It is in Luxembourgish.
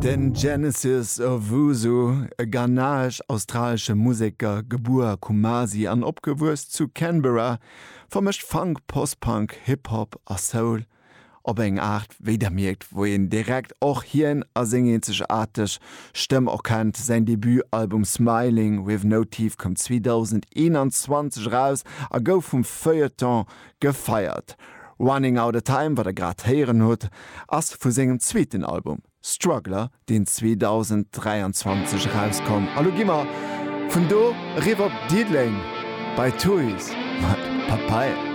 Den Genesis Owusu, e ghanaesch-australesche Museker, gebuer a Kumasi an opgewuess zu Canberra, vermëscht Funk, Post-Punk, Hip-Hop a Soul op eng Aart, wéi der mierkt, wou een direkt och hien a seng eenzegaarteg Stëmm erkennt. Säin Debutalbum Smiling With No Teeth koum 2021 eraus a gouf vum Feuilleton gefeiert. Running Outta Time, wat der grad héieren hutt, ass vu sengem zweeten Album Struggler, deen 2023 erauskomm. A lo gi mer vun do eriwwer op Diddeleng bei Tuys mat Papaya.